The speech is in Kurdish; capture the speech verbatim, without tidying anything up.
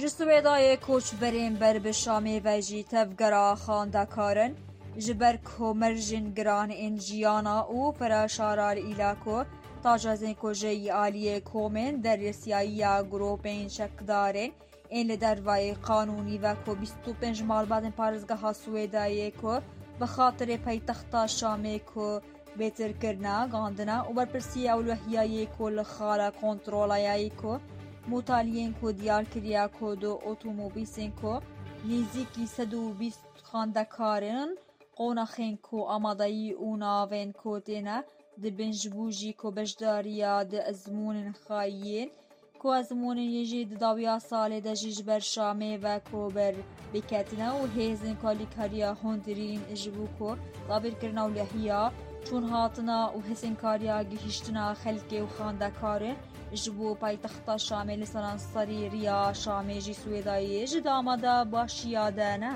Ji Swêdayê koçberên ber bi Şamê ve jî tevgera xwendekarin, ji ber ku mercên giran ên jiyana û pere şara li îla ku tacazên ku ji aliyê komên derisiyayiya grûpên çekdarên ên li dervayê qanûnî ve ku bîst û pênc malbatên parêzgeha Swêdayê ku bi xatirê paytexta Şamê ku bêtir kirina, gandina û berpirsiya ewlehiya yê ku li xala kontrola yayê ku mutaliyên ku diyar kiriya ku du otomobîsên ku nêzîkî sed û bîst xwendekarin, qonaxên ku amadeyî û navên ku têne dibin ji bo jî ku beşdariya di ezmûnên xayiyên ku ezmûnên yê jî di dawiya salê de jî ji ber Şamê ve ku ber biketine û hêzên ku alîkariya hundirîn ji bo ku dabîrkirina ewlehiya çûn hatina û hêzên kariya gihîştina xelkê û xwendekarin ji bo paytexta Şamê li seranserî riya Şamê jî Swêdayê ji damada başiya de ne.